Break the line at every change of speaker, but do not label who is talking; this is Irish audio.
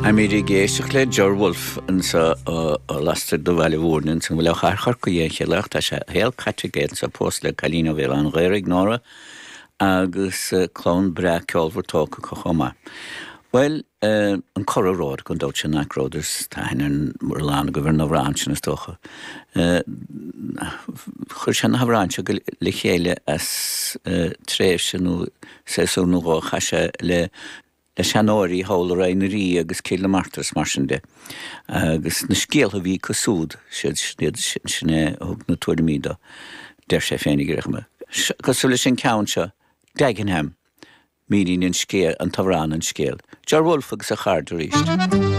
Táimid ag éisteacht le Ger Wolfe anseo lastoir de Bhaile Mhúirne ansan, bhuel ó Chathair Chorcaí é an chéad lá ach tá sé a shaol caite aige anseo, pósta le cailín ó Bhéal Átha an Ghaorthaidh, Nóra, agus clann breá ceolmhar tógtha acu chomh maith. Bhuel, an Curragh Road, gan dabht sin Knock Road, is tá aithne ar a lán agaibh ar an amhrán sin is dócha. Chuir sé na hamhráin seo le chéile as tréimhse nó séasúr nó dhó a chaith sé le le seanóirí thall i Rainn na Rí agus Cill na Martra is mar sin de. Agus na scéaltha a bhí acu siúd, siad iad sin a thug na tuairimí dó, deir sé féinig ar aon chuma. Cosúil leis an ceann seo, Dagenham, míníonn an scéal, an t-amhrán an scéal. Ger Wolfe agus a chairde arís.